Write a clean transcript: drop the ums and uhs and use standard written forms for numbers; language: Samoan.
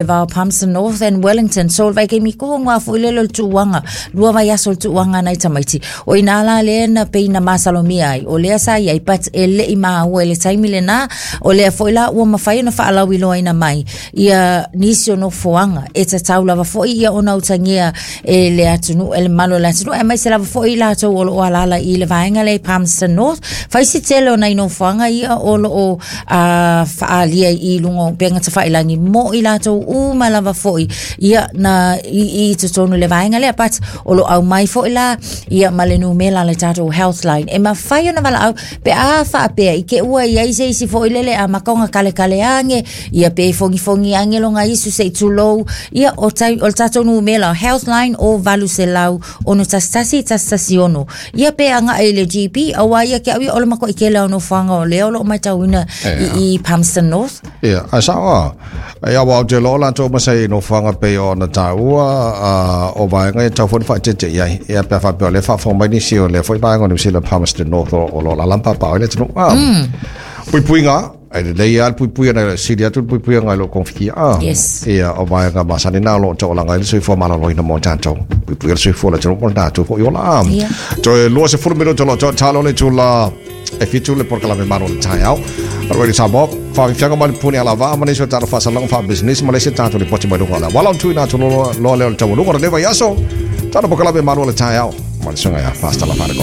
Va o Palmerston North and Wellington. So, le vaikaimi kohu ngā foi lele o le tuuanga, lua vaiaso o le tuuanga nai tamaiti. O ina la lea na pei na masalomia ai, o lea sa iai, but e le'i maua i le taimi lenā, o lea foi la ua mafai ona faalauiloaina mai ia nisi o nofoaga e tatau lava foi ia ona utagia e le atunuu, e le mamalu o le atunuu, aemaise lava foi i latou o lo o alaala i le vaega lea i Palmerston North. Fai si tele o nai nofoaga ia o lo o faaalia i luga o upega tafailagi mo i latou uma lava foi ia na i totonu i le vaega lea, but o lo o aumai foi la ia ma le numera a le tatou health line e mafai ona valaau pe a faapea i te ua i ai se isi foi lele amata ona kalekale age ia pe fogifogi age loga isu se i tulou ia o, tai, o le tatou numera health line o 800 611 116 ia pe agai i le GP aua ia ke au ia o le matuai tele o nofoaga o lea o lo o matauina i, i Palmerston North. Ia, ae sao a. Ia, aua ou te iloa o latou ma se nofoaga pei ona taua o vaega ia tatau foi ona faaeteete i ai. Ia, pe a faapea o lea e faafofoga mai nisi o lea foi vaega o Niu Sila Palmerston North o lo o alaala ma papaaao ai le atunuu. Puipuiga, E lelei lava le puipuiga nai lo sili atu le puipuiga nai lo kofitia. Yes. Ia, o vaega masani na o lo o taualaga ai le soifua maloloina mo tatou. Puipuia le soifua o le atunuu mo le tatou foi ola. Ia. Toe 20 minuta o lo o tatalo le itula e 7 le polokalame Malu o le Taeao. Radio Samoa, faafiafiaga mai le puni alavaa ma nisi o tatou faasalaga faapisinisi ma le isi tatou lipoti mai luga o le auala o le tuuina atu loa lea o le taualuga o lenei vaiaso. Tatou polokalame Malu o le Taeao ma le susuga ia Pastor Lafale.